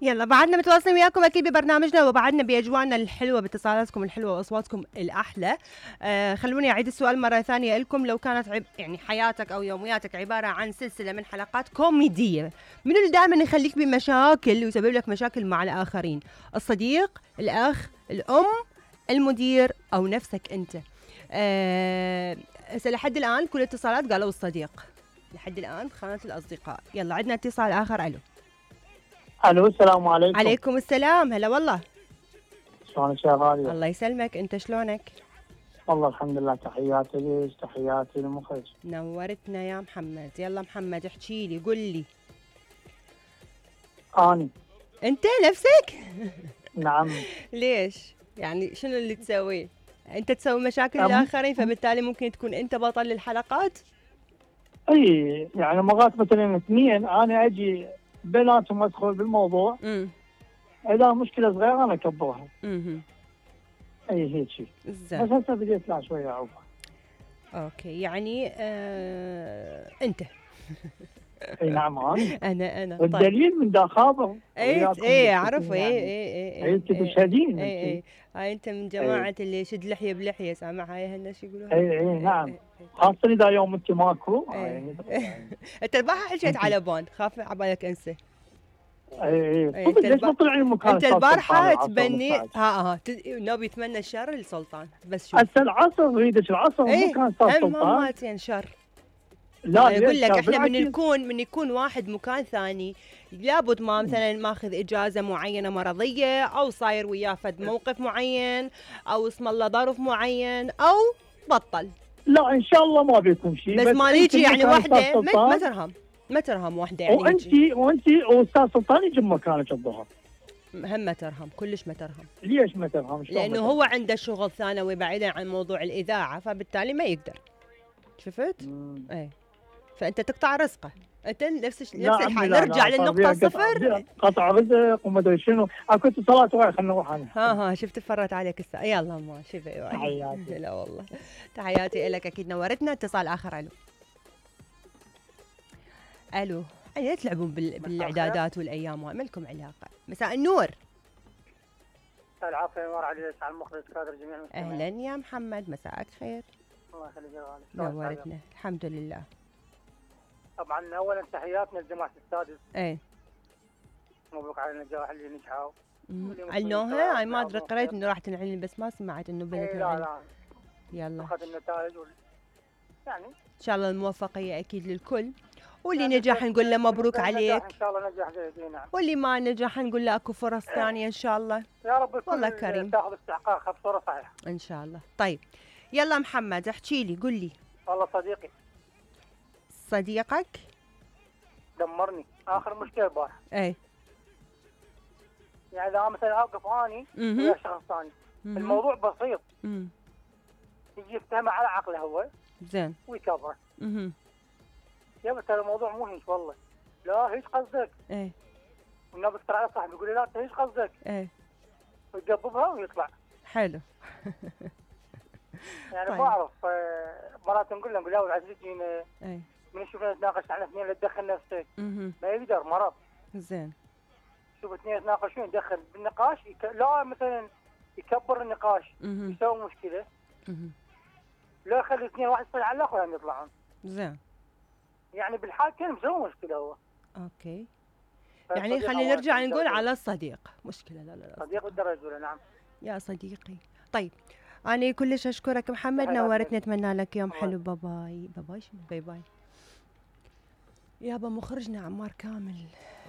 يلا بعدنا متواصلين وياكم اكيد ببرنامجنا، وبعدنا باجواءنا الحلوه باتصالاتكم الحلوه واصواتكم الاحلى. خلوني اعيد السؤال مره ثانيه لكم. لو كانت يعني حياتك او يومياتك عباره عن سلسله من حلقات كوميديه، منو اللي دائما يخليك بمشاكل ويسبب لك مشاكل مع الاخرين؟ الصديق، الاخ، الام، المدير، او نفسك انت؟ لحد الان كل الاتصالات قالوا الصديق، لحد الان خانت الاصدقاء. يلا عندنا اتصال اخر. الو السلام عليكم. عليكم السلام. هلا والله. شلونك يا غالية؟ الله يسلمك، انت شلونك؟ والله الحمد لله. تحياتي ليش، تحياتي للمخرج. نورتنا يا محمد. يلا محمد احكي لي، قل لي. اني انت نفسك؟ نعم. ليش؟ يعني شنو اللي تسويه؟ انت تسوي مشاكل للاخرين فبالتالي ممكن تكون انت بطل الحلقات؟ اي يعني مرات مثلا اثنين انا اجي بيناتهم ادخل بالموضوع. اذا مشكله صغيره انا اكبرها. اي هيك شيء. بس هسه بديت لا شويه اعوفها. اوكي يعني انت. اي نعم انا والدليل من دا خابر. اي اعرف. اي انت تشهدين. هاي انت من جماعه اللي يشد لحيه بلحيه، سامع هاي هالناس يقولوها. اي نعم. خاصه اذا يوم انت ماكو. انت البارحه حكيت على بون، خاف عبالك انسى. اي ليش ما طلع لي مكان؟ انت البارحه تبني نبي يتمنى الشر للسلطان. بس شوف هسه العصر اريدك العصر مو كان صار سلطان. ماتين شر. لا يقول لك احنا من يكون واحد مكان ثاني لابد ما مثلا ماخذ اجازه معينه مرضيه، او صاير وياه فد موقف معين، او اسم الله ظرف معين، او بطل. لا ان شاء الله ما بيكون شيء. بس ما نيجي يعني وحده ما ترهم وحده يعني. وانت واستاذ سلطان يجي مكانك الظهر. هم ما ترهم، كلش ما ترهم. ليش ما ترهم؟ لانه هو عنده شغل ثانوي بعيدا عن موضوع الاذاعه، فبالتالي ما يقدر. شفت؟ اي فانت تقطع رزقه. انت نفس الحال. نرجع للنقطه صفر. قطع رزق وما ادري شنو. كنت صلاه وراي خلينا نروح ها شفت فرت عليك الساعه. يلا ما شوفي. تحياتي. لا والله تحياتي لك اكيد نورتنا. اتصال اخر. الو يعني تلعبون بالاعدادات والايام وما لكم علاقه. مساء النور. العافيه نور عليك على المخرج كادر جميع المستمعين. اهلا يا محمد، مساءك خير. الله يخليك يا غالي. نورتنا الحمد لله. طبعا اولا تحياتنا لجماعه السادس. مبروك على النجاح اللي نجحوا. علنوها. هاي ما ادري، قريت انه راح تنعلن بس ما سمعت انه بنت. لا يلا اخذ النتائج يعني ان شاء الله الموفقيه اكيد للكل، واللي نجح نقول له مبروك عليك. ان شاء الله نجح جيد. نعم. واللي ما نجح نقول له اكو فرص ثانيه ان شاء الله. يا رب والله كريم تاخذ استحقاقها بصوره صحيحه ان شاء الله. طيب يلا محمد احكي لي، قل لي. والله صديقي. صديقك دمرني اخر مشكله البارحه. يعني اذا مثلا اوقف اني ويا شخص ثاني الموضوع بسيط. يجي يفتهمه على عقله هو زين ويكبره. يا بس هذا الموضوع مو هيك والله. لا هيك قصدك. والنبي ترى على صاحبي يقول لي لا انت هيك قصدك. ويقببها ويطلع. حلو. يعني طيب. بعرف مرات نقول له العزيز جينا من نشوفنا نتناقش عن اثنين لا تدخل نفسك. ما يقدر مرض. زين. شوف اثنين يتناقشون يدخل بالنقاش لا مثلا يكبر النقاش يسوي مشكله. لا يخلي اثنين واحد يصير على الاخر هم يطلعون. زين. يعني بالحال كان مسوي مشكله هو. اوكي. يعني خلينا نرجع نقول على الصديق مشكله. لا صديق بالدرجه الاولى. نعم يا صديقي. طيب أنا كلش أشكرك محمد، نورتني. أتمنى لك يوم حلو. باي باي. باي باي شنو باي باي. يابا مخرجنا عمار كامل.